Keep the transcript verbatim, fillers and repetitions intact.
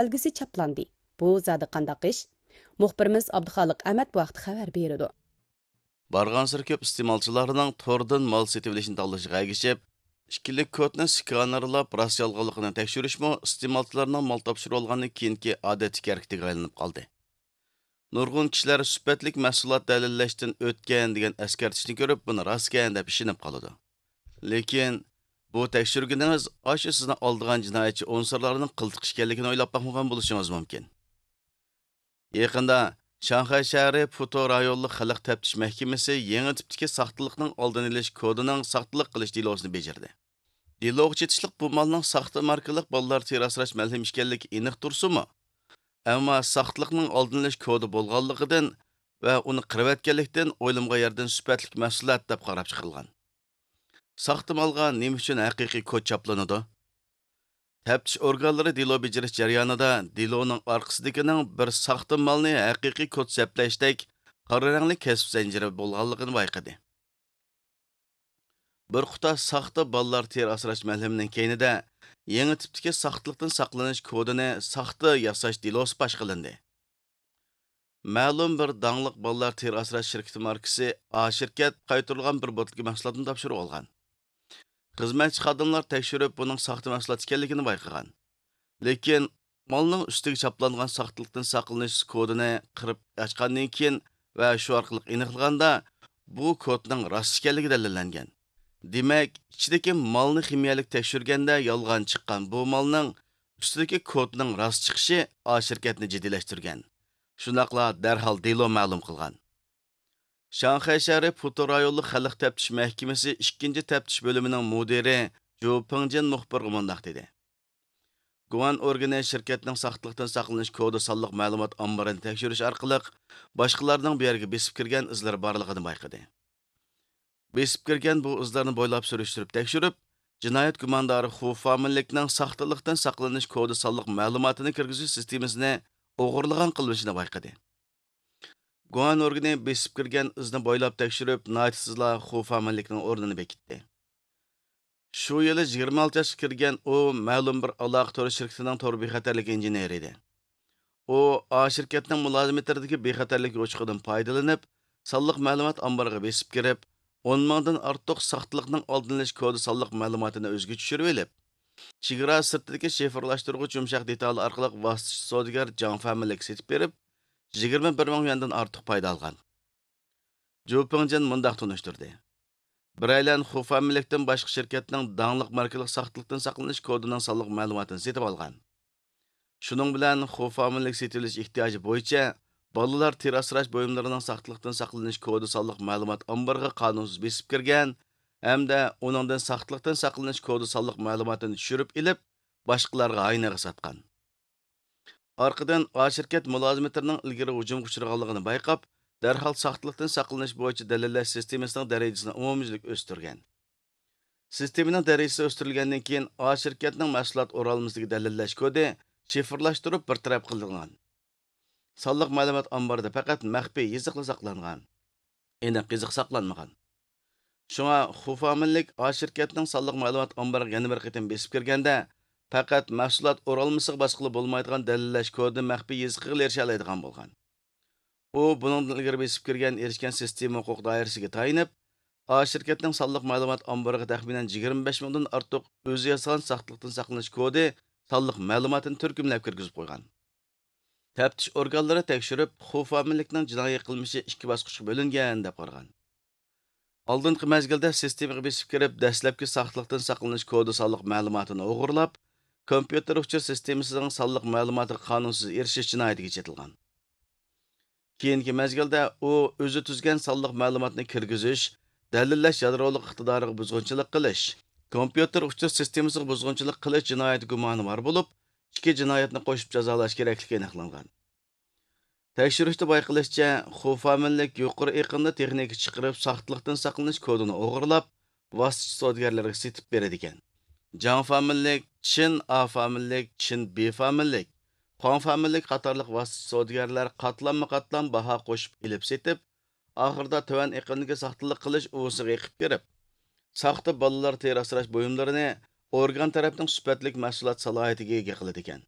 بەلگىسى چاپلاندى. بۇ زادى قانداق ئىش؟ مۇخبىرىمىز ئابدۇخالىق ئەمەت بۇ ھەقتە خەۋەر بېرىدۇ. بارغانسېرى كۆپ ئىستېمالچىلارنىڭ توردىن مال سېتىۋېلىشنى تاللىشىغا ئەگىشىپ، ئىككىلىك كودنى سكانېرلاپ راست يالغانلىقىنى تەكشۈرۈشمۇ ئىستېمالچىلارنىڭ مال تاپشۇرۇۋالغاندىن كېيىنكى ئادەتتىكى ھەرىكىتىگە ئايلىنىپ قالدى. نۇرغۇن كىشىلەر سۈپەتلىك مەھسۇلات دەلىللەشتىن ئۆتكەن دېگەن ئەسكەرتىشنى كۆرۈپ، بۇنى راستكەن دەپ ئىشىنىپ قالىدۇ. لېكىن بۇ تەكشۈرگىنىڭىز ئاشۇ سىزنى ئالدىغان جىنايەتچى ئۇنسۇرلارنىڭ قىلتىقى ئىكەنلىكىنى ئويلاپ باقمىغان بولۇشىڭىز مۇمكىن. يېقىندا شاڭخەي شەھىرى پۇتو رايونلۇق خەلق تەپتىش مەھكىمىسى يېڭى تىپتىكى ساختىلىقنىڭ ئالدىنى ئېلىش كودىنىڭ ساختىلىق قىلىش دېلوسىنى بېجىردى. دېلوغا چېتىشلىق بۇ مالنىڭ ساختا ماركىلىق بالىلار تېرە ئاسراش مەلھىمى ئىكەنلىكى ئېنىق تۇرسىمۇ، ئەمما ساختىلىقنىڭ ئالدىنى ئېلىش كودى بولغانلىقىدىن ۋە ئۇنى قىرىۋەتكەنلىكتىن ئويلىمىغان يەردىن سۈپەتلىك مەھسۇلات دەپ قاراپ چىقىلغان. ساختا مالغا نېمە ئۈچۈن ھەقىقىي كود چاپلىنىدۇ؟ تەپتىش ئورگانلىرى دېلو بېجىرىش جەريانىدا دېلونىڭ ئارقىسىدىكىنىڭ بىر ساختا مالنى ھەقىقىي كود سەپلەشتەك قارا رەڭلىك كەسىپ زەنجىرى بولغانلىقىنى بايقىدى. بىر قۇتا ساختا بالىلار تېرە ئاسراش مەلھىمىنىڭ كەينىدە يېڭى تىپتىكى ساختىلىقتىن ساقلىنىش كودىنى ساختا ياساش دېلوسى پاش قىلىندى. مەلۇم بىر داڭلىق بالىلار تېرە ئاسراش شىركىتى ماركىسى ئا شىركەت قايتۇرۇلغان بىر بوتۇلكا مەھسۇلاتنى تاپشۇرۇۋالغان. خىزمەتچى خادىملار تەكشۈرۈپ، بۇنىڭ ساختا مەھسۇلات ئىكەنلىكىنى بايقىغان. لېكىن مالنىڭ ئۈستىگە چاپلانغان ساختىلىقتىن ساقلىنىش كودىنى قىرىپ ئاچقاندىن كېيىن ۋە شۇ ئارقىلىق ئېنىقلىغاندا، بۇ كودنىڭ راست ئىكەنلىكى دەلىللەنگەن. دېمەك، ئىچىدىكى مالنى خىمىيەلىك تەكشۈرگەندە يالغان چىققان بۇ مالنىڭ ئۈستىدىكى كودنىڭ راست چىقىشى ئا شىركەتنى جىددىيلەشتۈرگەن. شۇنداقلا دەرھال دېلو مەلۇم قىلغان. شاڭخەي شەھىرى پۇتو رايونلۇق خەلق تەپتىش مەھكىمىسى ئىككىنچى تەپتىش بۆلۈمىنىڭ مۇدىرى جۇ پىڭجىن مۇخبىرغا مۇنداق دېدى: گۇەن ئورگىنى شىركەتنىڭ ساختىلىقتىن ساقلىنىش كودى سانلىق مەلۇمات ئامبىرىنى تەكشۈرۈش ئارقىلىق باشقىلارنىڭ بۇ يەرگە بېسىپ كىرگەن ئىزلىرى بارلىقىنى بايقىدى. بېسىپ كىرگەن بۇ ئىزلارنى بويلاپ سۈرۈشتۈرۈپ تەكشۈرۈپ، جىنايەت گۇماندارى خۇ فامىلىكنىڭ ساختىلىقتىن ساقلىنىش كودى سانلىق مەلۇماتىنى كىرگۈزۈش سىستېمىسىنى ئوغرىلىغان قىلمىشىنى بايقىدى. گۇەن ئورگىنى بېسىپ كىرگەن ئىزنى بويلاپ تەكشۈرۈپ، ناھايىتى تېزلا خۇ فامىلىكنىڭ ئورنىنى بېكىتتى. شۇ يىلى يىگىرمە ئالتە ياشقا كىرگەن ئۇ مەلۇم بىر ئالاقە تورى شىركىتىنىڭ تور بىخەتەرلىك ئىنژېنېرى ئىدى. ئۇ ئا شىركەتنىڭ مۇلازىمەتلىرىدىكى بىخەتەرلىك يوچۇقىدىن پايدىلىنىپ، سانلىق مەلۇمات ئامبىرىغا بېسىپ كىرىپ، ئون مىڭدىن ئارتۇق ساختىلىقنىڭ ئالدىنى ئېلىش كودى سانلىق مەلۇماتىنى ئۆزىگە چۈشۈرۈۋېلىپ، چېگرا سىرتىدىكى شىفىرلاشتۇرغۇچ يۇمشاق دېتالى ئارقىلىق ۋاسىتىچى سودىگەر جاڭ فەمىنلىككە سېتىپ بېرىپ، يىگىرمە بىر مىڭ يۈەندىن ئارتۇق پايدا ئالغان. جۇ پىڭجىن مۇنداق تونۇشتۇردى: بىرەيلەن خۇ فامىلىكتىن باشقا شىركەتنىڭ داڭلىق ماركىلىق ساختىلىقتىن ساقلىنىش كودىنىڭ سانلىق مەلۇماتىنى سېتىۋالغان. شۇنىڭ بىلەن خۇ فامىلىك سېتىۋېلىش ئېھتىياجى بويىچە بالىلار تېرە ئاسراش بۇيۇملىرىنىڭ ساختىلىقتىن ساقلىنىش كودى سانلىق مەلۇمات ئامبىرىغا قانۇنسىز بېسىپ كىرگەن ھەمدە ئۇنىڭدىن ساختىلىقتىن ساقلىنىش كودى سانلىق مەلۇماتىنى چۈشۈرۈپ ئېلىپ، باشقىلارغا ھاينىغا ساتقان. ئارقىدىن ئا شىركەت مۇلازىمەتلىرىنىڭ ئىلگىرى ھۇجۇمغا ئۇچرىغانلىقىنى بايقاپ، دەرھال ساختىلىقتىن ساقلىنىش بويىچە دەلىللەش سىستېمىسىنىڭ دەرىجىسىنى ئومۇميۈزلۈك ئۆستۈرگەن. سىستېمىنىڭ دەرىجىسى ئۆستۈرۈلگەندىن كېيىن، ئا شىركەتنىڭ مەھسۇلات ئورالمىسىدىكى دەلىللەش كودى شىفىرلاشتۇرۇپ بىر تەرەپ قىلىنغان. سانلىق مەلۇمات ئامبىرىدا پەقەت مەخپىي يېزىقلا ساقلانغان. ئېنىق يېزىق ساقلانمىغان. شۇڭا خۇ فامىلىك ئا شىركەتنىڭ سانلىق مەلۇمات ئامبىرىغا يەنە بىر قېتىم بېسىپ كىرگەندە، پەقەت مەھسۇلات ئورالمىسىغا باسقىلى بولمايدىغان دەلىللەش كودىنى مەخپىي يېزىقىغىلا ئېرىشەلەيدىغان بولغان. ئۇ بۇنىڭدىن ئىلگىرى بېسىپ كىرگەن ئېرىشكەن سىستېما ھوقۇق دائىرىسىگە تايىنىپ، ئا شىركەتنىڭ سانلىق مەلۇمات ئامبىرىغا تەخمىنەن يىگىرمە بەش مىڭدىن ئارتۇق ئۆزى ياسىغان ساختىلىقتىن ساقلىنىش كودى سانلىق مەلۇماتىنى تۈركۈملەپ كىرگۈزۈپ قويغان. تەپتىش ئورگانلىرى تەكشۈرۈپ، خۇ فامىلىكنىڭ جىنايى قىلمىشى ئىككى باسقۇچقا بۆلۈنگەن، دەپ قارىغان. ئالدىنقى مەزگىلدە سىستېمىغا بېسىپ كىرىپ، دەسلەپكى ساختىلىقتىن ساقلىنىش كودى سانلىق مەلۇماتىنى ئوغرىلاپ، كومپيۇتېر ئۇچۇر سىستېمىسىنىڭ سانلىق مەلۇماتىغا قانۇنسىز ئېرىشىش جىنايىتىگە چېتىلغان. كېيىنكى مەزگىلدە ئۇ ئۆزى تۈزگەن سانلىق مەلۇماتنى كىرگۈزۈش، دەلىللەش يادرولۇق ئىقتىدارىغا بۇزغۇنچىلىق قىلىش، كومپيۇتېر ئۇچۇر سىستېمىسىغا بۇزغۇنچىلىق قىلىش جىنايىتى گۇمانى بار بولۇپ، ئىككى جىنايەتنى قوشۇپ جازالاش كېرەكلىكى ئېنىقلانغان. تەكشۈرۈشتە بايقىلىشىچە، خۇ فامىلىك يۇقىرى ئېقىمدا تېخنىكا چىقىرىپ، ساختىلىقتىن ساقلىنىش كودىنى ئوغرىلاپ، ۋاسىتىچى سودىگەرلەرگە سېتىپ بېرىدىكەن. جاڭ فامىلىك، چىن ئا فامىلىك، چىن بى فامىلىك، خۇاڭ فامىلىك قاتارلىق ۋاسىتىچى سودىگەرلەر قاتلاممۇ قاتلام باھا قوشۇپ ئېلىپ سېتىپ، ئاخىرىدا تۆۋەن ئېقىمدىكى ساختىلىق قىلىش ئۇۋىسىغا ئېقىپ كىرىپ، ساختا بالىلار تېرە ئاسراش بۇيۇملىرىنى ئورگان تەرەپنىڭ سۈپەتلىك مەھسۇلات سالاھىيىتىگە ئىگە قىلىدىكەن.